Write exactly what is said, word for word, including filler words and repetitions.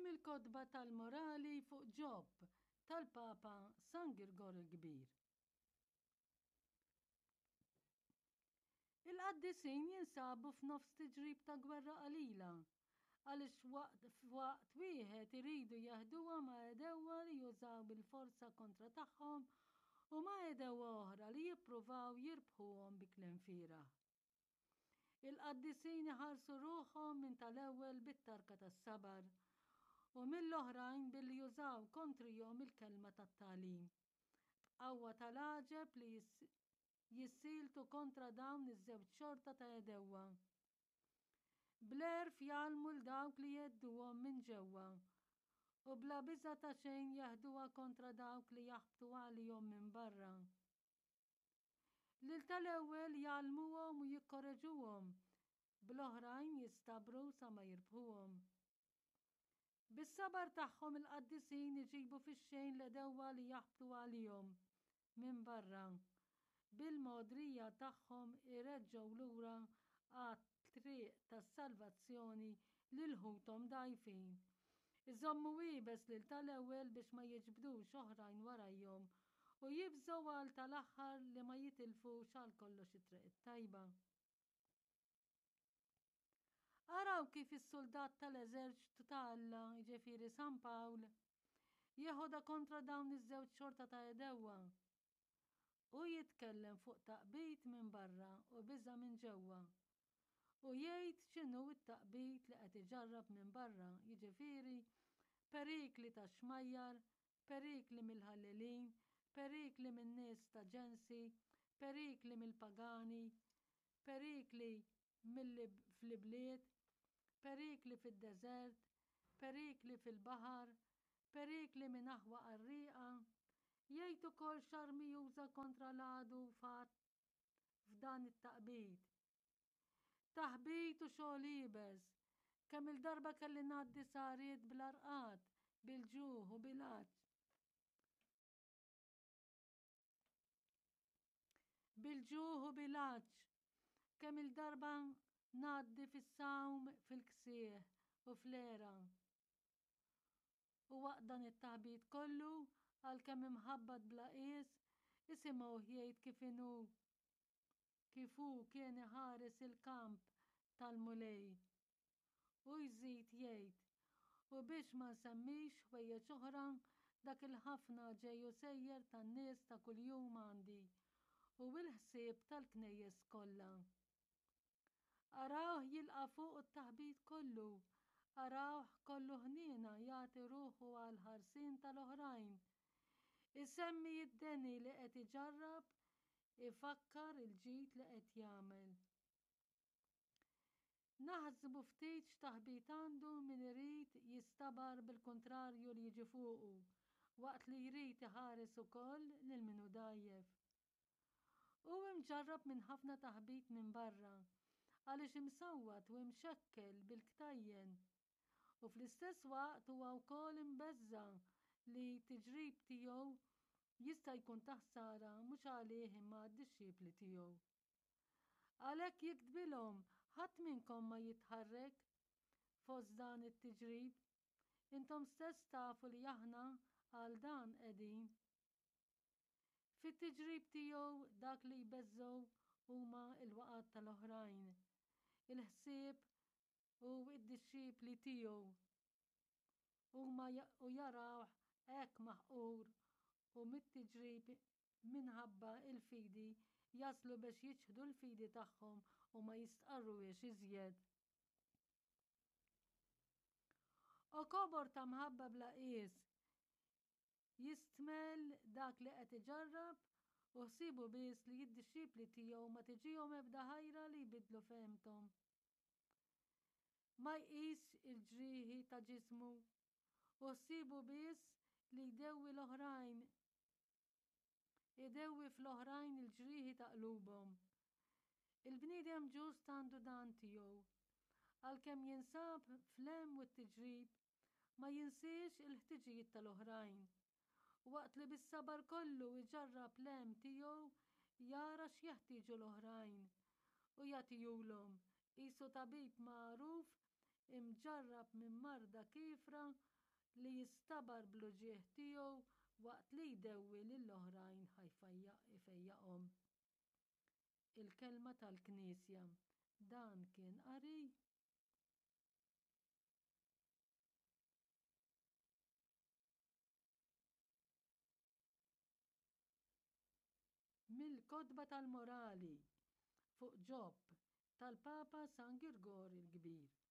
mill-kotba tal-morali fuq Ġob tal-Papa San Girgor il-Kbir. Il-qaddisin jinsabu f'nofs tiġrib ta' gwerra qalila, għaliex waqt wieħed iridu jeħduha ma' għedewwa li jużaw bil-forza kontra tagħhom u ma' għedewwa oħra li jippruvaw jirbħuhom bi kliem fieragħ. Il-qaddisin iħarsu ruħhom minn tal-ewwel bit-tarka tas-sabar u mill-oħrajn billi jużaw kontrihom il-kelma tat-tagħlim, b'qawwa tal-għaġeb li jissieltu kontra dawn iż-żewġ xorta ta' għedewwa. Bl-għerf jgħallmu 'l dawk li jgħedduhom minn ġewwa u bla biża' ta' xejn jeħduha kontra dawk li jaħbtu għalihom minn barra. Lil tal-ewwel jgħallmuhom u jikkoreġuhom, bl-oħrajn jistabru sa ma jirbħuhom. Bis-sabar tagħhom il-qaddisin iġibu fix-xejn l-għedewwa li jaħbtu għalihom minn barra. Bil-mogħdrija tagħhom ireġġgħu lura għat-triq tas-salvazzjoni lil ħuthom dgħajfin. Iżommu iebes lil tal-ewwel biex ma jiġbdux oħrajn warajhom u jibżgħu għal tal-aħħar li ma jitilfux għal kollox it-triq it-tajba. Araw kif is-suldat tal-eżerċtu ta' Alla, jiġifieri San Pawl, jeħodha kontra dawn iż-żewġ xorta ta' għedewwa. Hu jitkellem fuq taqbid minn barra u biża' minn ġewwa. U jgħid x'inhu t-taqbid li qed iġarrab minn barra, jiġifieri perikli tax-xmajjar, perikli mill-ħallelin, perikli min-nies ta' ġensi, perikli mill-pagani, perikli fl-ibliet, perikli fid-deżert, perikli fil-baħar, perikli minn aħwa qarrieqa. Jgħid ukoll x'armi juża kontra l-għadu f'dan it-taqbid. Taħbit u xogħol iebes. Kemm-il darba kelli ngħaddi sahriet bla rqad, bil-ġuħ u bil-għatx. Bil-ġuħ u bil-għatx. Kemm-il darba ngħaddi fis-sawm fil-ksieħ u fl-għera. U waqt dan it-taħbit kollu, għalkemm imħabbat bla qies, isimgħuh jgħid kif inhu kif hu kien iħares il-kamp tal-Mulej. U jżid jgħid, u biex ma nsemmix ħwejjeġ oħra, dak il-ħafna ġej u sejjer tan-nies ta' kuljum għandi, u l-ħsieb tal-knejjes kollha. Arawh jilqa' fuq it-taħbit kollu, arawh kollu ħniena jagħti ruħu għall-ħarsien tal-oħrajn. Isemmi d-deni li qed iġarrab, ifakkar il-ġid li qed jagħmel. Naħsbu ftit x'taħbit għandu min irid jistabar bil-kuntrarju li jiġi fuqu, waqt li jrid iħares ukoll lil min hu dgħajjef. Hu imġarrab minn ħafna taħbit minn barra, għaliex imsawwat u imxekkel bil-ktajjen, u fl-istess waqt huwa wkoll imbeżża' li t-tiġrib tiegħu jista' jkun ta' ħsara mhux għalih imma għad-dixxipli tiegħu. Għalhekk jiktbilhom, ħadd minnkom ma jitħarrek fost dan it-tiġrib. Intom stess tafu li aħna għal dan qegħdin. Fit-tiġrib tiegħu dak li jbeżżgħu huma l-waqgħat tal-oħrajn, il-ħsieb u d-dixxipli tiegħu. Huma u jarawh hekk maħqur u mit-tiġrib minħabba l-fidi jaslu biex jiċħdu l-fidi tagħhom u ma jistqarruhiex iżjed. O kobor ta' mħabba bla qies, jistmell dak li qed iġarrab u ħsiebu biss li d-dixxipli tiegħu ma tiġihom ebda ħajra li jbiddlu fehmthom. Ma jqisx il-ġrieħi ta' ġismu u ħsiebu biss li jdewwi l-oħrajn, idewwi fl-oħrajn il-ġrieħi ta' qlubhom. Il-bniedem ġust għandu dan tiegħu. Għalkemm jinsab fl-hemm u t-tiġrib, ma jinsiex il-ħtiġijiet tal-oħrajn. Waqt li bis-sabar kollu iġarrab l-hemm tiegħu, jara x'jeħtieġu l-oħrajn u jagħtihulhom, qisu tabib magħruf imġarrab minn marda kiefra li jistabar bl-uġigħ tiegħu waqt li jdewwi lill-oħrajn ħa jfejjaqhom. Il-Kelma tal-Knisja. Dan kien qari mill-Kotba tal-Morali fuq Ġob tal-Papa San Girgor il-Kbir.